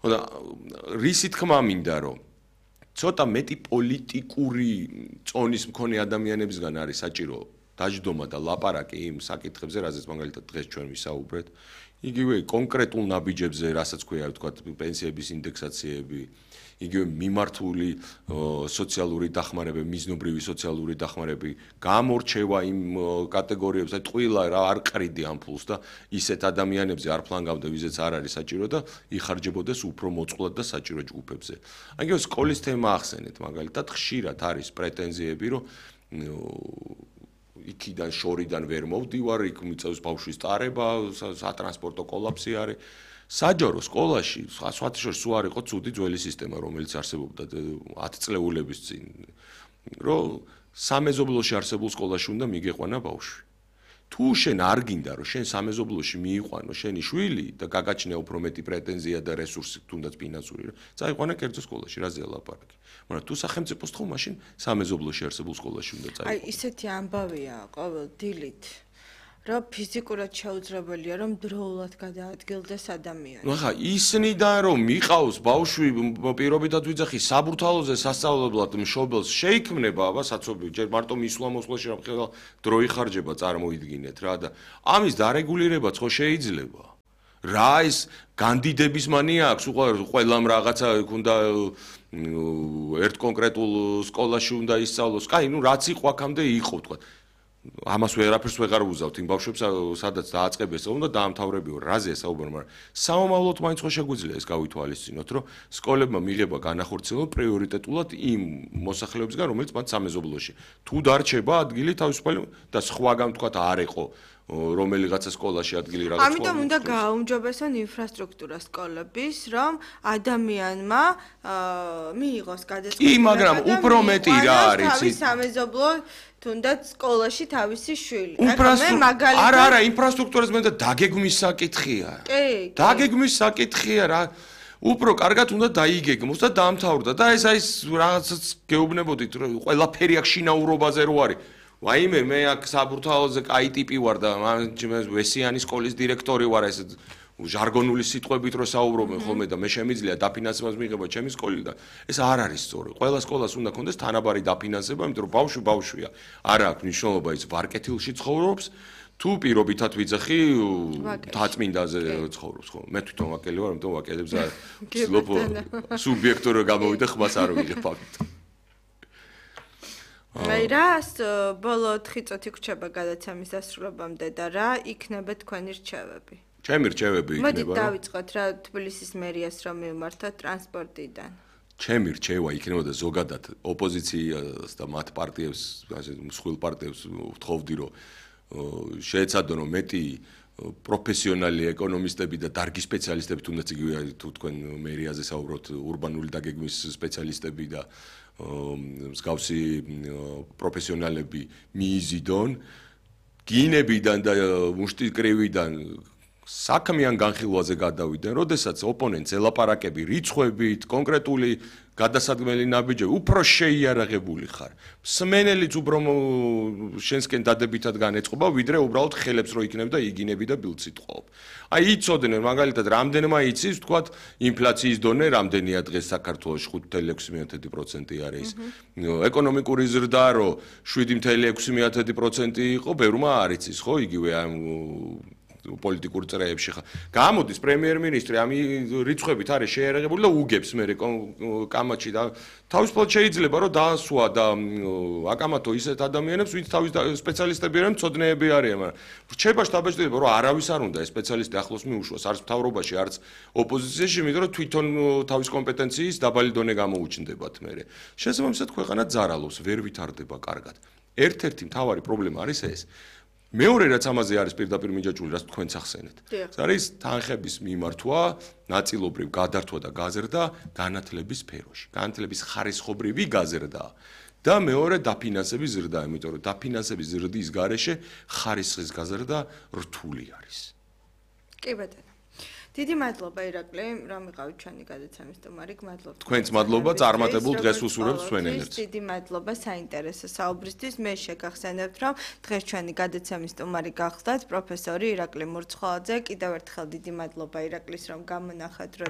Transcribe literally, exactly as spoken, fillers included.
ხოდა რისი თქმა მინდა რომ ცოტა მეტი პოლიტიკური წონის მქონე ადამიანებისგან არის საჭირო დაждდომა და ლაპარაკი იმ საკითხებზე, რაზეც მაგალითად დღეს ჩვენ ვისაუბრეთ. იგივე კონკრეტულ ნაბიჯებზე, რასაც ქვია, თქვა პენსიების ინდექსაციები, იგივე მიმართული სოციალური დახმარება, მიზნობრივი სოციალური დახმარება, გამორჩევა იმ კატეგორიებს, აი ტყუილა რა არ ყრიდი ამ ფულს და ისეთ ადამიანებზე არ ფლანგავდა, ვიზეც არ არის საჭირო და იხარჯებოდეს უფრო მოწყვლად და საჭირო ჯგუფებზე. იგივე სკოლის თემა ახსენეთ, მაგალითად, ხშირად არის პრეტენზიები, რომ იქიდან შორიდან ვერ მოვდივარ, იქ მიწევს ბავშვის ტარება, სატრანსპორტო კოლაფსი არის. საჯარო სკოლაში სხვათა შორის სულ არ იყო ცუდი ძველი სისტემა, რომელიც არსებობდა ათი წლეულების წინ, რომ სამეზობლოში არსებულ სკოლაში უნდა მიგეყვანა ბავშვი. თუ შენ არ გინდა, რომ შენ სამეზობლოში მიიყვანო შენი შვილი და გაგაჩნია უფრო მეტი პრეტენზია და რესურსი, თუნდაც ფინანსური, წაიყვანა კერძო სკოლაში, რაზეა ლაპარაკი. მაგრამ თუ სახელმწიფოს თხოვ, მაშინ სამეზობლოში არსებულ სკოლაში უნდა წაიყვანო. აი, ისეთი ამბავია ყოველ დილით. რომ ფიზიკურად შეუძლებელია რომ დროულად გადაადგილდეს ადამიანი. ნუ ხა ისნიდან რომ მიყავს ბავშვი პირობითად ვიძახი საბურთალოზე სასწავლებლად მშობელს შეიქმნება აბა საცობი ჯერ მარტო მისვლა-მოსვლაში რომ ხელა დრო იხარჯება წარმოიდგინეთ რა და ამის დარეგულირებაც ხო შეიძლება. რა ის განდიდების მანია აქვს ყველამ რაღაცა უნდა ერთ კონკრეტულ სკოლაში უნდა ისწავლოს. კაი, ნუ რაც იყო აქამდე იყო თქვა. ამას ვერაფერს ვეღარ ვუზავთ იმ ბავშვებს სადაც დააწყებეს უნდა დაამთავრებიო რაზეა საუბარი მაგრამ სამომავლოდ მაინც ხო შეგვიძლია ეს გავითვალისწინოთ რომ სკოლებმა მიიღება განახორციელება პრიორიტეტულად იმ მოსახლეობისგან რომელიც მათ სამეზობლოში თუ დარჩება ადგილი თავისუფალი და სხვაგან თქვა არ იყო რომელიღაცა სკოლაში ადგილი რაღაც ამიტომ უნდა გააუმჯობესონ ინფრასტრუქტურა სკოლების რომ ადამიანმა მიიღოს გადაწყვეტილება კი მაგრამ უფრო მეტი რა არის თავის სამეზობლო თუნდაც სკოლაში თავისი შვილი. არა, არა, ინფრასტრუქტურას მე და დაგეგმვის საკითხია. კი, დაგეგმვის საკითხია რა. უფრო კარგად უნდა დაიგეგმოს და დაამთავრდა და ეს აი რაღაცაც გეუბნებოდით რომ ყველაფერი აქ შინაურობაზე რო არის. ვაიმე მე აქ საბურთალოზე კაი ტიპი ვარ და ვესიანის სკოლის დირექტორი ვარ ეს ჟარგონული სიტყვებით რო საუბრობენ ხოლმე და მე შემიძლია დაფინანსებას მიიღება ჩემი სკოლიდან. ეს არ არის სწორი. ყველა სკოლას უნდა კონდეს თანაბარი დაფინანსება, იმიტომ რომ ბავშვი ბავშვია. არა აქვს მნიშვნელობა ის ვარკეთილში ცხოვრობს, თუ პირობითად ვიძახი თაწმინდაზე ცხოვრობს ხო. მე თვითონ ვაკელი ვარ, ამიტომ ვაკელებს არ ვცდილობ სუბიექტური გამოვიდე ხმას არ ვიღებ ფაქტ. აი რას ბოლო ოთხი წუთი გვჩება გადაცემის დასრულებამდე და რა იქნება თქვენი რჩევები? ჩემი რჩევები იქნება. მოდით დავიწყოთ რა თბილისის მერიას რომ მივმართოთ ტრანსპორტიდან. ჩემი რჩევა იქნებოდა ზოგადად ოპოზიციას და მათ პარტიებს, ასე მსხვილ პარტიებს ვთხოვდი რომ შეეცადონ რომ მეტი პროფესიონალი ეკონომისტები და დარგი სპეციალისტები თუნდაც იგივე თუ თქვენ მერიაზე საუბრობთ ურბანული დაგეგმვის სპეციალისტები და მსგავსი პროფესიონალები მიიზიდონ გინებიდან და მუშტიკრივიდან საქმიან განხილვაზე გადავიდნენ, როდესაც ოპონენტს ელაპარაკები რიცხვებით, კონკრეტული გადასადგმელი ნაბიჯები, უფრო შეიარაღებული ხარ. მსმენელიც უფრო შენსკენ დადებითად განეწყობა, ვიდრე უბრალოდ ხელებს რო იქნებ და იგინები და ბილდს იტყობ. აი იცოდნენ, მაგალითად, რამდენმა იცის, თქვათ, ინფლაციის დონე რამდენია დღეს საქართველოში ხუთი წუთი ექვსი პროცენტი არის. ეკონომიკური ზრდა რო შვიდი წუთი ექვსი პროცენტი იყო, ბევრმა არ იცის, ხო, იგივე ამ პოლიტიკურ წრეებში ხა. გამოდის პრემიერ-მინისტრი ამ რიცხვებით არის შეერაღებული და უგებს მე კამაჩი და თავისუფლად შეიძლება რომ დაასვა და აკამათო ისეთ ადამიანებს, ვინც თავის სპეციალისტები არიან, მწოდნეები არიან, მაგრამ რჩება შტაბ-ჭრილობა რომ არავის არ უნდა ეს სპეციალისტი ახლოს მიუშვას, არც მთავრობაში, არც ოპოზიციაში, იმიტომ რომ თვითონ თავის კომპეტენციის დაბალი დონე გამოუჩნდებათ მე. შესაბამისად ქვეყანა ძარალობს, ვერ ვითარდება კარგად. ერთ-ერთი მთავარი პრობლემა არის ეს. მეორე რაც ამაზე არის პირდაპირ მიჯაჭვული, რაც თქვენც ახსენეთ. ეს არის თანხების მიმართვა, ნაწილობრივ გადართვა და გაზრდა განათლების სფეროში. განათლების ხარისხობრივი გაზრდა და მეორე დაფინანსების ზრდა, იმიტომ რომ დაფინანსების ზრდის გარეშე ხარისხის გაზრდა რთული არის. კი ბატონო. დიდი მადლობა ირაკლი, რომ იყავით ჩვენი გადაცემის სტუმარი. მადლობა. თქვენც მადლობა წარმატებულ დღეს უსურვებთ თქვენ ენერგს. დიდი მადლობა საინტერესო საუბრისთვის. მე შეგახსენებთ, რომ დღეს ჩვენი გადაცემის სტუმარი გახლდათ პროფესორი ირაკლი მურცხოვაძე. კიდევ ერთხელ დიდი მადლობა ირაკლის, რომ გამონახეთ დრო